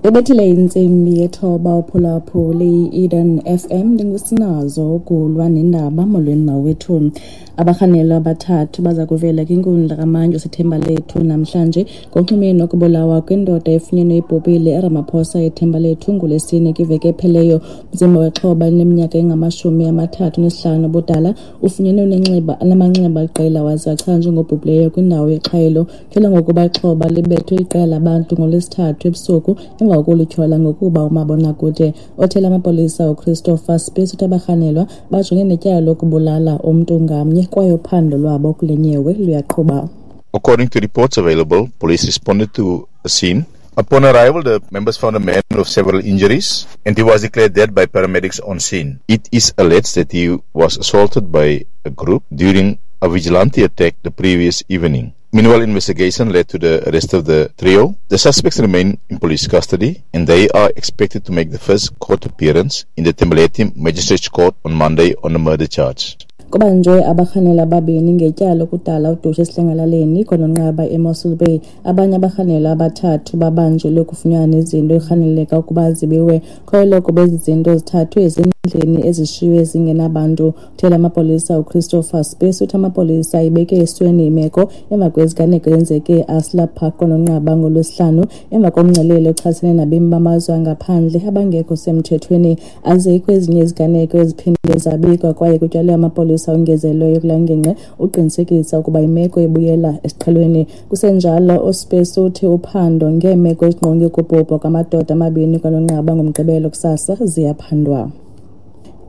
Ibethile intsimbi yethoba uphulaphuli i-Eden FM, ndingusinazo ukulwa nendaba. Molweni mawethu. Abarhanelwa abathathu baza kuvela kwinkundla kamantyi waseThembalethu namhlanje ngokunxulumene nokubulawa kwindoda efunyenwe ibhubhile eRamaphosa eThembalethu ngoLwesine kwiveki epheleyo. Umzimba wexhoba elineminyaka engama-35 ubudala ufunyenwe unenxeba namanxeba aliqela waze wachazwa njengobhubhileyo kwindawo yexhwayelo. Kutyholwa ngokuba ixhoba libethwe iqela labantu ngoLwesithathu ebusuku emva kokulityhola ngokuba umabonakude. Othela amapolisa uChristopher Spies uthi abarhanelwa bajongene netyala lokubulala umntu ngamnye kwaye uphando lwabo kule nyewe luyaqhuba. According to reports available, police responded to a scene. Upon arrival, the members found a man with several injuries and he was declared dead by paramedics on scene. It is alleged that he was assaulted by a group during a vigilante attack the previous evening. Meanwhile, investigation led to the arrest of the trio. The suspects remain in police custody and they are expected to make the first court appearance in the Thembalethu Magistrates Court on Monday on a murder charge. Kubanjwe abarhanelwa ababini ngetyala lokudala udushe esidlangalaleni kononqaba eMossel Bay. Abanye abarhanelwa abathathu babanjelwe ukufunyanwa nezinto ekurhaneleka ukuba zibiwe. Kholelwa ukuba ezi zinto zithathwe ezindlini ezishiywe zingenabantu. Uthela amapolisa uChristopher Spies uthi amapolisa ayibeke esweni imeko emva kweziganeko ezenzeke eAsla Park kononqaba ngoLwesihlanu emva komngcelele ochasene nabemi bamazwe angaphandle abangekho semthethweni. Azikho ezinye iziganeko eziphinde zabikwa kwaye kutyalwe amapolisa ongezelelweyo kula ngingqi uqinisekisa ukuba imeko ibuyela esiqhelweni. Kusenjalo, uSpies uthi uphando ngeemeko ezingqonge ukubhubha kwamadoda amabini kwanonqaba ngoMgqibelo kusasa ziyaphandwa.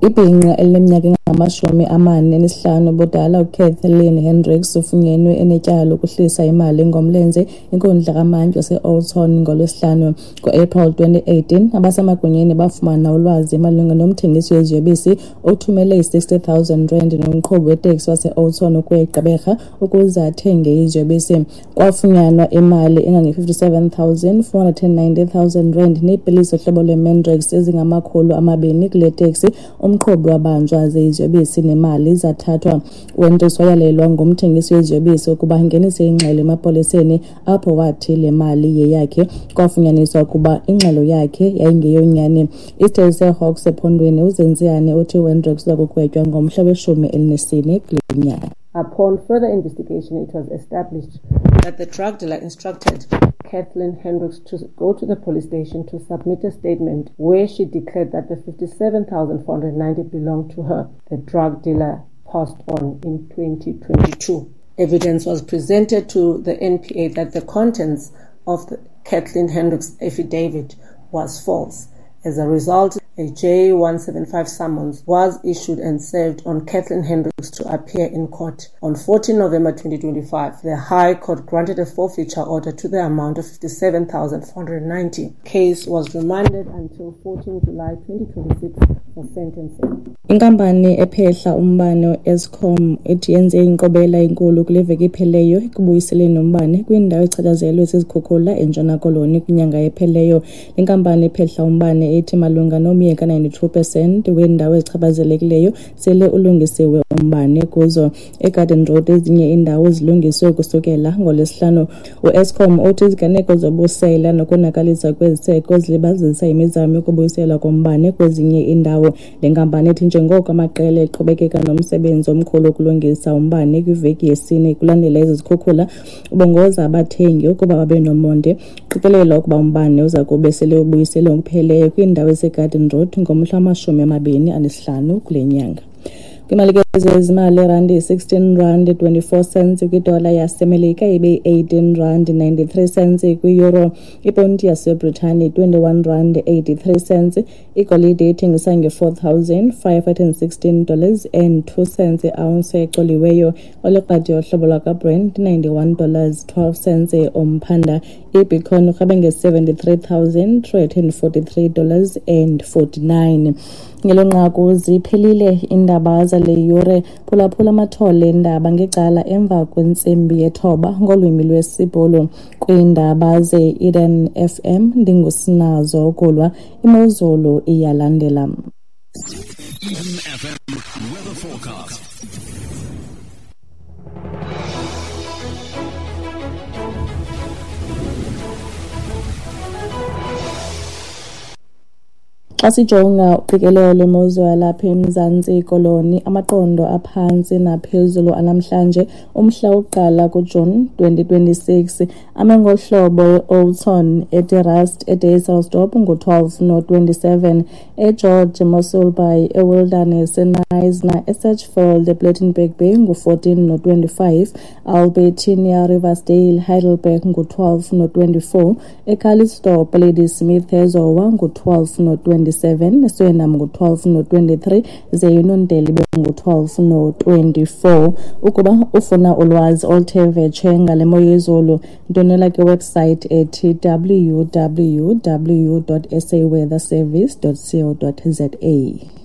Ibhinqa elineminyaka engama-45 ubudala uKathleen Hendricks ufunyenwe enetyala lokuhlisa imali ngomlenze inkundla kamantyi wase-Oudtshoorn ngoLwesihlanu. Ngo-April 2018, abasemagunyeni bafumana ulwazi malunga nomthengisi weziyobisi othumele i-60 000 rand nomqhubi weteksi wase-Oudtshoorn ukuya eGqeberha ukuze athenge iziyobisi. Kwafunyanwa imali engange-57 490 000 rand neepilisi zohlobo lwe-Mandrax ezingama-200 kule teksi. Umqhubi wabanjwa ze iziyobisi nemali zathathwa. UHendricks wayalelwa ngumthengisi weziyobisi ukuba angenise ingxelo emapoliseni apho wathi le mali yeyakhe. Kwafunyaniswa ukuba ingxelo yakhe yayingeyonyani. Isithethi seHawks ephondweni uZenziane uthi uHendricks uza kugwetywa ngomhla we-14 kule nyanga. Upon further investigation, it was established that the drug dealer instructed Kathleen Hendricks to go to the police station to submit a statement where she declared that the 57,490 belonged to her. The drug dealer passed on in 2022. Evidence was presented to the NPA that the contents of the Kathleen Hendricks affidavit was false. As a result, a J175 summons was issued and served on Kathleen Hendricks to appear in court. On 14 November 2025, the High Court granted a forfeiture order to the amount of 57,490. Case was remanded until 14 July 2026 for sentencing. Inkampani ephehla umbane Eskom ithi yenze inkqubela enkulu kule veki ipheleyo ekubuyiseleni umbane kwindawo echatshazelwe zizikhukhula eNtshona Koloni kwinyanga epheleyo. Le nkampani ephehla umbane ithi malunga nomye ka-92% weendawo ezichaphazelekileyo sele ulungisiwe umbane kuzo. EGarden Road ezinye iindawo zilungiswe kusukela ngoLwesihlanu. UEskom uthi iziganeko zobusela nokonakalisa kweziseko zilibazisa imizamo yokubuyiselwa kombane kwezinye iindawo. Le nkampani ithi njengoko amaqela eqhubekeka nomsebenzi omkhulu wokulungisa umbane kwiveki yesine kulandela ezi zikhukhula, ubongoza abathengi ukuba babe nomonde. Qikelelwa ukuba umbane uza kube sele ubuyiselwe ngokupheleleyo kwiindawo eziseGarden Road ngomhla wama-25 kule nyanga. Kwimali ke zezimali, irandi yi-16 rand 24 cents kwidola yaseMelika, ibe yi-18 rand 93 cents kwi-euro, iponti yaseBritane 21 rand 83 cents. Igolide ithengisa nge-$4,516 and 2 cents i-ounce ecoliweyo. Olikrwada yohlobo lwakwaBrent $91 12 cents umphanda. Ibitcoin urhabe nge-$73,343 and 49. Ngelo nqaku ziphelile iindaba zale yure. Phulaphula amathole eendaba ngecala emva kwentsimbi yethoba ngolwimi lwesiBhulu. Kwiindaba ze-Eden FM ndingusinazo ukulwa. Imozulu iyalandela. Eden FM weather forecast. Xa sijonga uqikelelo lwemozulu yalapha eMzantsi Koloni, amaqondo aphantsi naphezulu anamhlanje umhla wokuqala kuJuni 2026 ame ngohlobo: eOudtshoorn, eDe Rust, eDysselsdorp ngu-12 no-27, eGeorge, eMossel Bay, eWilderness, eKnysna, eSedgefield, ePlettenberg Bay ngu-14 no-25, Albertinia, Riversdale, Heidelberg ngu-12 no-24, eCalitzdorp, Ladysmith, eZowa ngu-12 no-27, eSuriname ngu-12 no-23, ze iNondeli ibe ngu-12 no-24. Ukuba ufuna ulwazi oluthe vetshe ngale mo yezulu, ndwendwela kwiwebsite ethi www.saweatherservice.co.za.